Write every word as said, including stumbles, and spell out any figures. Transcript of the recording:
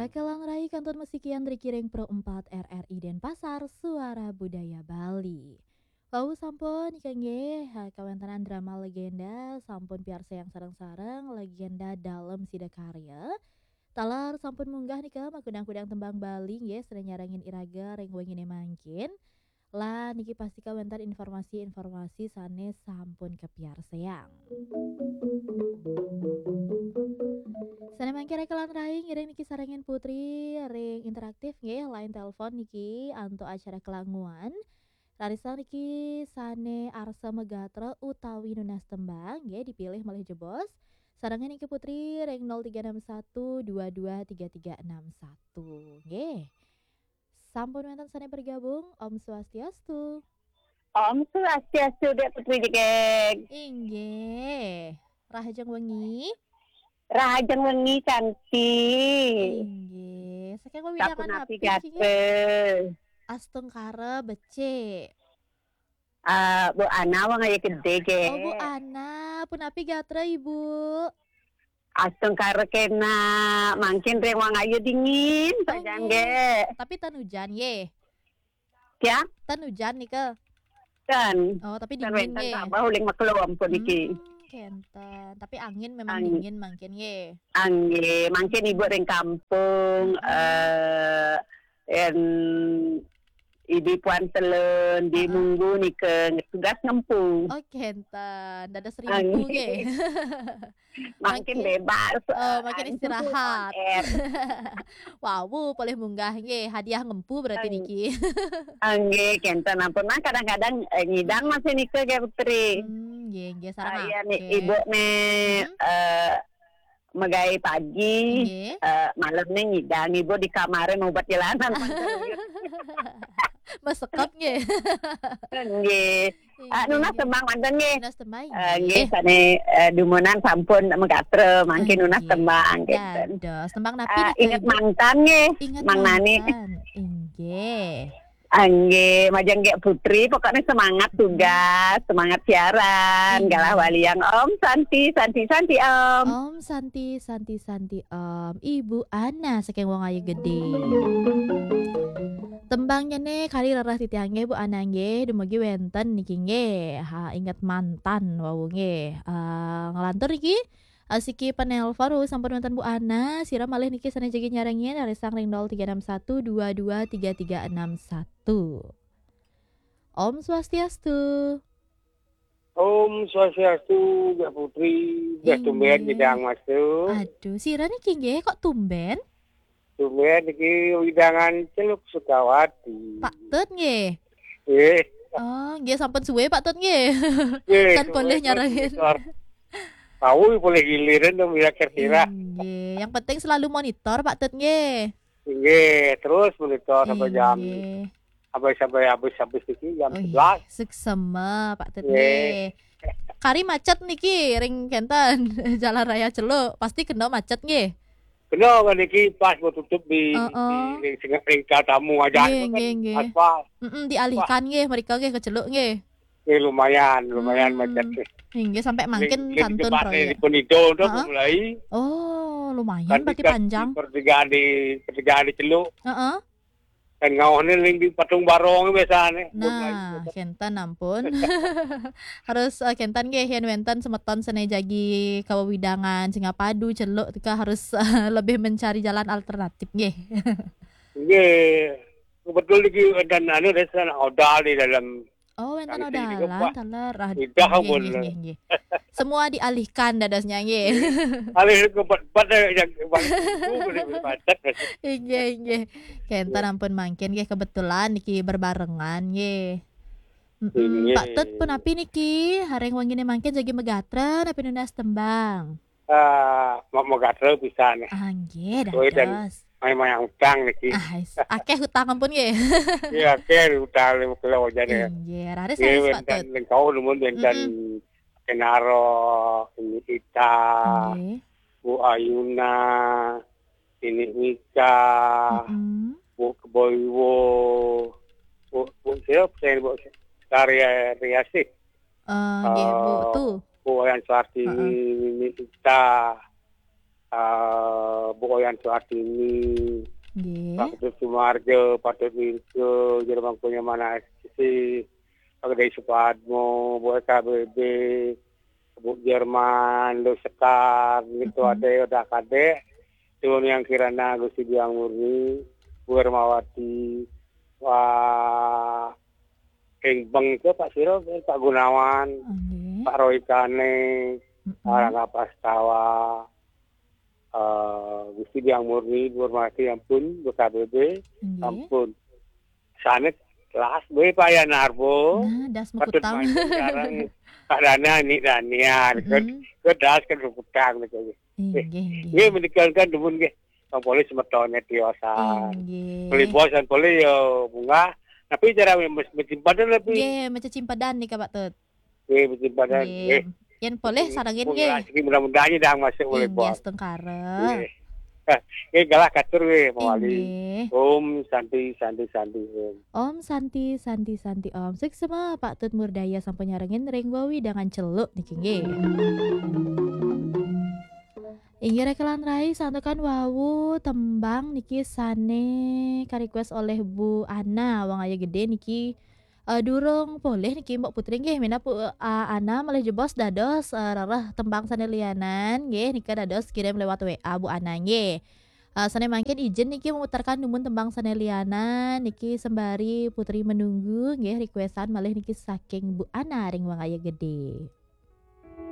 Kalang rai kantun musikian ring Pro empat R R I Denpasar, Suara Budaya Bali. Wau sampun nika nggih, ha, kawéntenan drama legenda sampun piarsayang sareng-sareng, legenda Dalem Sidakarya. Taler sampun munggah nika makudang-kudang tembang Bali nggih, sané nyarengin iraga ring wenginé mangkin. Lan niki pastika wénten informasi-informasi sané sampun kapiarsayang. Sané mangkin kalang rai ngiring niki sarengin Putri ring interaktif nggih, line telepon niki antuk acara kelanguan. Raris niki sané arsa magatra utawi nunas tembang nggih, dipilih malih jebos. Sarengin niki Putri ring nol tiga enam satu dua dua tiga tiga enam satu nggih. Sampun wénten sané bergabung, Om Swastiastu. Om Swastiastu, Dék Putri Jegég. Inggih. Rahajeng wengi. Rahajeng wengi, Canti. Inggih. Saking wewidangan napi, gatra? Astungkara becik. Ah, Bu Ana, wong ayu gedé, gé. Oh, Bu Ana, punapi gatra, Ibu? Astungkara kénak, mangkin ring wong ayu dingin, oh, sajan nggih. Tapi ten ujan, nggih. Ya? Ten ujan nika. Ten. Oh, tapi ten dingin, wénten nggih. Tambah uling maklum puniki. Hmm, kénten. Tapi angin memang dingin mangkin, nggih. Anggih, mangkin Ibu ring kampung, eh, en Ibu Puan Selun, di Munggu nika tugas ngempu. Oh, kénten. Dados rimpu, nggih. Mangkin bebas, oh, eh, mangkin anu, istirahat. On air. Wau, polih munggah, nggih. Hadiah ngempu berarti niki. Anggih, kénten ampun. Nah, kadang-kadang, eh, ngidang masih nika, nggih, Putri. Hmm, nggih, nggih, sareng. Ah, iya, nih, aké. Ibu nih, eh, megai pagi, nggih. Eh, malam nih ngidang, Ibu di kamaré mau buat jalanan. Masekep, nggih. Nggih. Ah, nunas tembang manten, nggih. Nunas tembang, eh, nggih, nggih. Sané, eh, dumunan sampun magatra, mangkin nunas tembang, nggih. Dados. Tembang napi nika, Ibu? Ingat Mantan, nggih. Ingat Mantan. Mang Nani. Inggih. Anggih, majeng Gék Putri, pokoknya semangat tugas, semangat siaran, galah waliang. Om Santi, Santi, Santi, Om. Om Santi, Santi, Santi, Om. Ibu Ana saking Wong Ayu Gedé. Tembangnya nih, kari rereh titiang nggih, Bu Ana nggih, dumugi wénten niki nggih. Ha, Ingat Mantan wau nggih. Eh, nglantur niki, asiki penelpon, oh, sampun wénten Bu Ana, sira malih niki sané jagi nyarengin, raris ring nol tiga enam satu dua dua tiga tiga enam satu. Om Swastiastu. Om Swastiastu, Gék Putri. Inggih. Tumbén ngidang, Mas, tu. Aduh, sira niki nggih, kok tumbén? Tumbén niki wewidangan Celuk Sukawati. Pak Tut nggih? Nggih. Oh, nggih, sampun suwé, Pak Tut, nggih. Nggih, kan suwé, polih nyarengin. Tahu polih giliran dong, ya, kira-kira. Nggih, yang penting selalu monitor, Pak Tut, nggih. Nggih, terus monitor sampai jam, inggih, sampai, sampai habis, habis niki jam sebelas. Oh, iya. Suksema, Pak Tut, nggih, nggih. Kari macet niki, ring kénten, Jalan Raya Celuk, pasti kena macet, nggih. Kena kan niki pas mau tutup di, heeh, di ring sengah, ring tamu aja. Nggih, itu kan nggih, nggih. Aspal. Mm-mm, dialihkan, wah, nggih, mereka nggih ke Celuk nggih. Nggih, lumayan, lumayan, hmm, macet nggih. Nggih, sampai mangkin ring kantun jembatan proyek. Di Penido tu, heeh, mulai. Oh, lumayan kan berarti di, panjang. Di pertigaan di, pertigaan di Celuk. Heeh. Kan ngawahné ring di Patung Barong biasané. Nah, kénten ampun. Harus, eh, kénten nggih, yén wénten semeton sané jagi kawewidangan Singapadu, Celuk, tika harus, eh, lebih mencari jalan alternatif nggih. Nggih. Kebetul niki wénten anu, wénten odal di dalam. Oh, wénten odalan, wah, taler. Aduh, indah, nggih, ampun, nggih, nggih, nggih. Semua dialihkan dadosnya, nggih. Alih ke bat-, bat, eh, yang paling itu boleh berbatat. Nggih, nggih. Kénten ampun mangkin, nggih, kebetulan niki berbarengan, nggih. Mm-mm. Nggih. Pak Tut, punapi niki? Ring wenginé mangkin jagi magatra, napi nunas tembang? Ah, mau, mau gatel pisan. Ah, nggih, kowe dan dados. Main-main utang niki. Ah, is-, akéh utang ampun nggih. Iya, akéh utang lima kilo aja deh. Nggih, raris, nggih, raris, Pak Tut. Wénten lengkau numun wénten, mm-mm, Kenaro, ini Ita, nggih, Bu Ayuna, ini Nika, mm-mm, Bu Keboiwo, Bu, Bu siapa saya, Bu Karya Riasih. Eh, nggih, Bu, eh, tuh. Bu Wayan Suartiwi, heeh, Nini Ita, eh, Bu Oyan Suartini, Nggih. Pak Ketut Sumarjo, Pak Ketut Wirjo, Jerman punya mana sih, Pak Gedai Supadmo, Bu S K B B, Bu Jerman, Lu Sekar, gitu Mhm. Ade, Oda Kadek, Tuan Yang Kirana, Gusti Biang Murni, Bu Hermawati, Wah, Ing Beng itu Pak Siro, Pak Gunawan, Nggih. Pak Roy Kane, Mm-mm. Arang Apastawa, eh, Gusti Biang Murni, Bu Hermawati, ampun, Bu K B B, Nggih. ampun. Sanet kelas, Bu Pak Yanarbo. Nah, das Patut mekutang. main sekarang. Pak Dana, ini Danian. Kan, Mm-mm. kan das kan mekutang gitu. Inggih, inggih. Nggih, menika kan demen nggih. Wong polih semetone tiosan. Inggih. Polih bos dan polih ya bunga. Tapi cara mes-, mencimpadan lebih. Nggih, macam cimpadan nih Pak Tut. Nggih, mencimpadan. Nggih. Nggih. Yen polih sarengin nggih. Mudah-mudahan dah masuk oleh Inggih, bos. Setengkara. Nggih. Nggih, galah katur nggih, Pak Wali. Inggih. Om Santi, Santi, Santi, Om. Om Santi, Santi, Santi, Om. Suksma Pak Tut Murdaya sampun nyarengin ring wewidangan Celuk niki nggih. Inggih rekelan rai santukan wau tembang niki sane ka-request oleh Bu Ana, Wong Ayu Gede niki, eh, durung polih niki Mbok Putri nggih, minab Bu, eh, Ana malih jebos dados, eh, rereh tembang sane lianan nggih, nika dados kirim lewat W A Bu Ana nggih. Eh, sane mangkin ijin niki memutarkan dumun tembang sane lianan niki sembari Putri menunggu nggih, requestan malih niki saking Bu Ana ring Wong Ayu Gede.